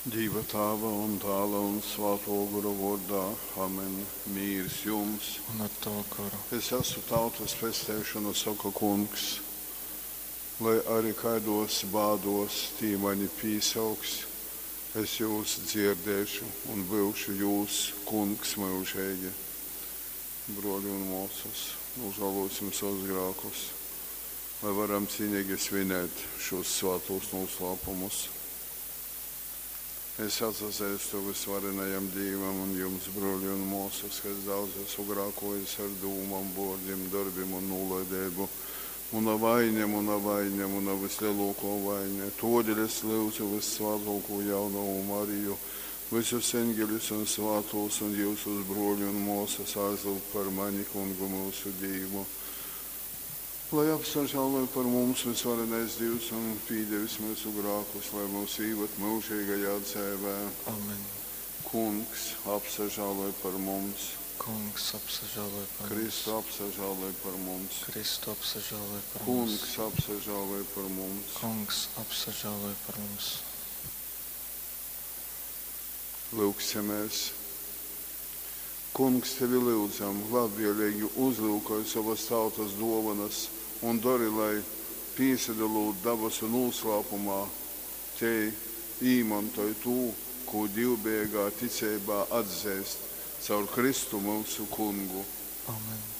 Dīva Tāva un Dāla un Svātō Gora vōrdā. Amen. Mīrs jums! Un ar tavu goru. Es asu tautas pesteišona, soka Kungs. Lai ari kaidōs bādōs tī mani pīsauks, es jūs dzierdēšu un byušu jūs Kungs myužeigi. Brōli un mōsas, nūžālōsim savus grākus, lai varam cīneigi svinēt šūs svātūs nūslāpumus. Es atsazeistu vysvarenajam Dīvam un jums, brōli un mōsas, ka es daudz esmu grākōjis ar dūmom, vōrdim, dorbim un nūlaideibu. Muna vaine, muna vaine, muna vyslelōkō vaine. Tōdēļ es lyudzu vyssvātōkū jaunovu Mariju, vysus eņgeļus un svātūs un jyusus, brōli un mōsas, aizlyugt par mani Kungu myusu Dīvu. Lai apsažāloj par mums vysvarenais Dīvs un pīdevis myusu grākus, lai myus īvad myužeigajā dzeivē. Amen. Kungs, apsažāloj par mums. Kungs, apsažāloj par Kristu, mums. apsažāloj par mums. Kristu, apsažāloj par mums. Kungs, apsažāloj par mums. Kungs, apsažāloj par mums. Lūgsimies. Kungs, tevi lyudzam, labvēlīgi uzlūkoj sovas tautas dōvanas un dori, lai, pīsadolūt dabasu nūslāpumā, tei īmontoj tū, kū dīvbejeigā ticeibā atzeist, caur Kristu myusu Kungu. Amen.